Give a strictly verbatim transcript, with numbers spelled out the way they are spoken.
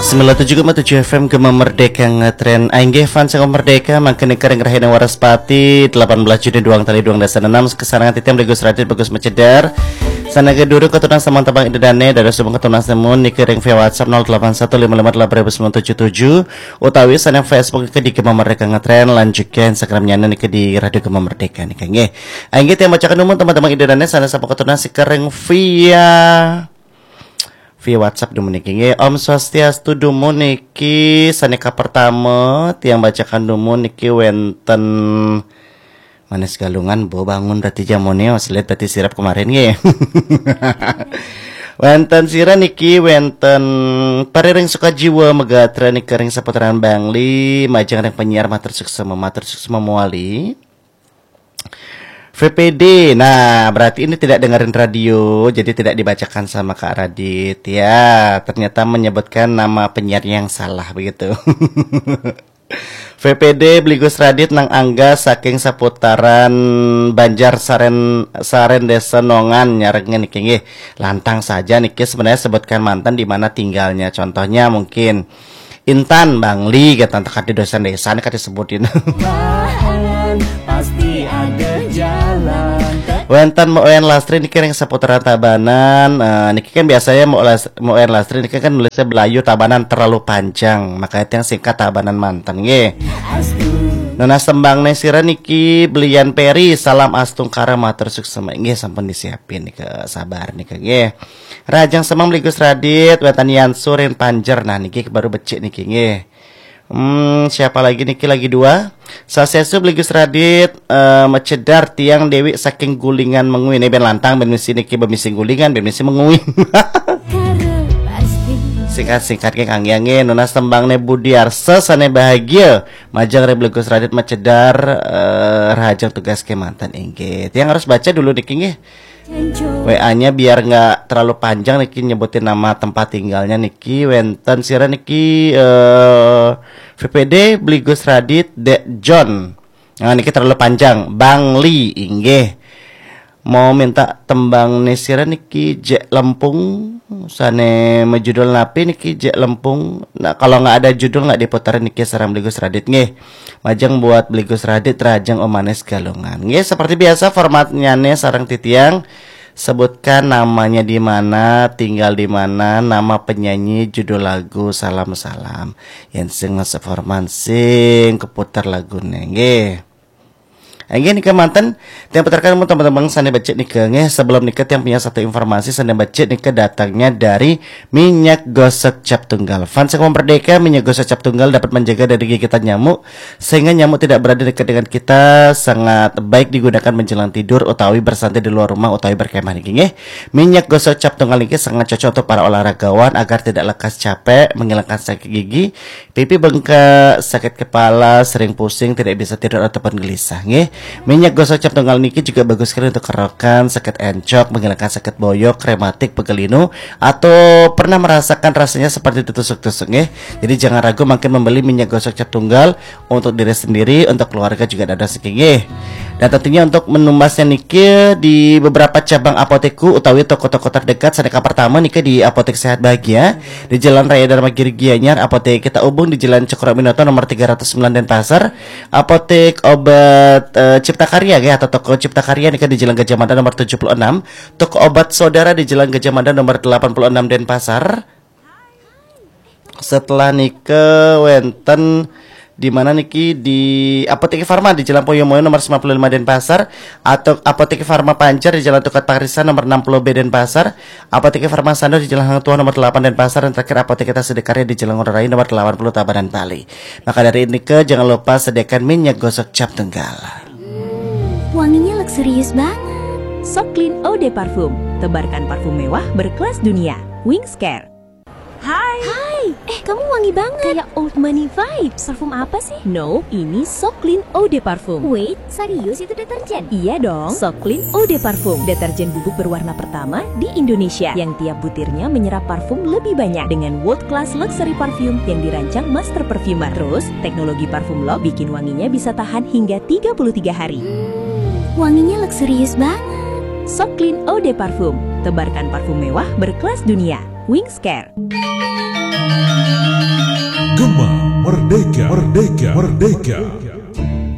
Sembilan tujuh koma tujuh F M Gema Merdeka ngetren. Ainggih fans Gema Merdeka, mangkin nika ring rahina Waraspati, delapan belas Juni duang tali duang dasa enam, kesarengan titiang Bli Gus Radit Bagus Macedar. Sane durung katunas samang tembang Ida Dane, dados sumangga katunas nemu nika ring via WhatsApp nol delapan satu lima lima delapan ribu sembilan tujuh tujuh, utawi sane Facebook nika di Gema Merdeka ngetren, lan juga Instagramnya nika di Radio Gema Merdeka nika nggih. Ainggih tiang bacakan dumun teman-teman Ida Dane sane sampun katunas nika ring via via WhatsApp dumun niki nggih. Om Swastiastu dumun niki sane kapertama tiang bacakan dumun niki wenten Manis Galungan, bo bangun berarti jamone, oh, selit berarti sirap kemarin nggih. Wenten sira niki wenten Pariring Sukajiwa Megatra nika ring seputaran Bangli, majeng ring penyiar matur suksma, matur suksma mawali. V P D. Nah, berarti ini tidak dengerin radio, jadi tidak dibacakan sama Kak Radit. Ya, ternyata menyebutkan nama penyiar yang salah begitu. V P D Bli Gus Radit nang angga saking seputaran Banjar Saren, Saren Desa Nongan nyarengin niki nggih. Lantang saja niki sebenarnya sebutkan manten di mana tinggalnya. Contohnya mungkin Intan Bangli, kata teka di dosen desa nih, kata disebutin. Pasti ada jalan. Wenten Mbok Wayan Lastri niki ring seputaran Tabanan. Eh, niki kan biasanya Mbok Las-, Mbok Wayan Lastri niki kan nulisnya Belayu Tabanan terlalu panjang, makanya yang singkat Tabanan manten nggih. Nunas tembang ne sira niki Belian Peri, salam astungkara matur suksma. Nggih, sampun disiapin nika, sabar nika nggih. Rahajeng semeng Bli Gus Radit, wenten Yan Surin Panjer. Nah, niki baru becik niki nggih. Hmm, siapa lagi niki, lagi dua? Swastiastu Bli Gus Radit, eh, Macedar tiang Dewi saking Gulingan Mengwi. Ini ben lantang, ben misi niki, ben misi Gulingan, ben misi Mengwi. Singkat-singkat ke Kang Yang nggih, nunas tembang ne Budi Arsa sane bahagia. Majeng ring Bli Gus Radit Macedar, eh, rahajeng tugas kemanten inggih. Tiang harus baca dulu niki nggih. W A-nya biar nggak terlalu panjang niki nyebutin nama tempat tinggalnya niki, wenten sira niki, eh, V P D Bli Gus Radit Dek John. Nah, niki terlalu panjang. Bangli inggih. Mau minta tembang ne sira niki Jek Lempung, sane majudul napi niki Jek Lempung. Nah, kalau nggak ada judul nggak diputarin niki sareng Bli Gus Radit nggih. Majeng buat Bli Gus Radit, rahajeng Om Manis Galungan. Nggih, seperti biasa formatnya nih sareng titiang, sebutkan namanya di mana, tinggal di mana, nama penyanyi, judul lagu, salam-salam. Yen sing masuk format sing keputar lagune nggih. Inggih nika manten, tiang putarkan mun teman-teman sane becik nika nggih. Sebelum nika tiang punya satu informasi sane becik nika datangnya dari minyak gosok cap tunggal. Fans Gema Merdeka, minyak gosok cap tunggal dapat menjaga dari gigitan nyamuk sehingga nyamuk tidak berada dekat dengan kita, sangat baik digunakan menjelang tidur utawi bersantai di luar rumah utawi berkemah niki nggih. Minyak gosok cap tunggal niki sangat cocok untuk para olahragawan agar tidak lekas capek, menghilangkan sakit gigi, pipi bengkak, sakit kepala, sering pusing, tidak bisa tidur ataupun gelisah nggih. Minyak gosok cap tunggal niki juga bagus sekali untuk kerokan, sakit encok, menghilangkan sakit boyok, rematik, pegal linu, atau pernah merasakan rasanya seperti ditusuk-tusuk nggih. Jadi jangan ragu mangkin membeli minyak gosok cap tunggal untuk diri sendiri, untuk keluarga juga dados niki nggih. Dan tentunya untuk menumbasnya niki di beberapa cabang apotekku utawi toko-toko terdekat. Sane kapertama niki di Apotek Sehat Bahagia di Jalan Raya Dharma Giri Gianyar, Apotek Kita Ubung di Jalan Cokroaminoto nomor tiga ratus sembilan Denpasar, Apotek Obat, eh, Cipta Karya nggih, atau toko Cipta Karya niki di Jalan Gajah Mada nomor tujuh puluh enam, toko Obat Saudara di Jalan Gajah Mada nomor delapan puluh enam Denpasar. Setelah nika wenten di mana niki, di Apotek Farma di Jalan Poyomoyo nomor sembilan puluh lima Denpasar, atau Apotek Farma Pancar di Jalan Tukad Parisan nomor enam puluh B Denpasar, Apotek Farma Sando di Jalan Hang Tuah nomor delapan Denpasar, dan terakhir Apotek Kita Sidakarya di Jalan Ngurah Rai nomor delapan puluh Tabanan Bali. Maka dari nika jangan lupa sediakan minyak gosok cap tunggal. Wanginya luxurious banget. Soklin Eau de Parfum, tebarkan parfum mewah berkelas dunia. Wings Care. Hai. Hai, eh kamu wangi banget. Kayak old money vibes. Parfum apa sih? No, ini Soklin Eau de Parfum. Wait, serius itu deterjen? Iya dong, Soklin Eau de Parfum, deterjen bubuk berwarna pertama di Indonesia yang tiap butirnya menyerap parfum lebih banyak dengan world class luxury perfume yang dirancang master perfumer. Terus, teknologi parfum lock bikin wanginya bisa tahan hingga tiga puluh tiga hari. Wanginya luxurious banget. Soklin Eau de Parfum, tebarkan parfum mewah berkelas dunia. Wings Care. Gema Merdeka, Merdeka, Merdeka.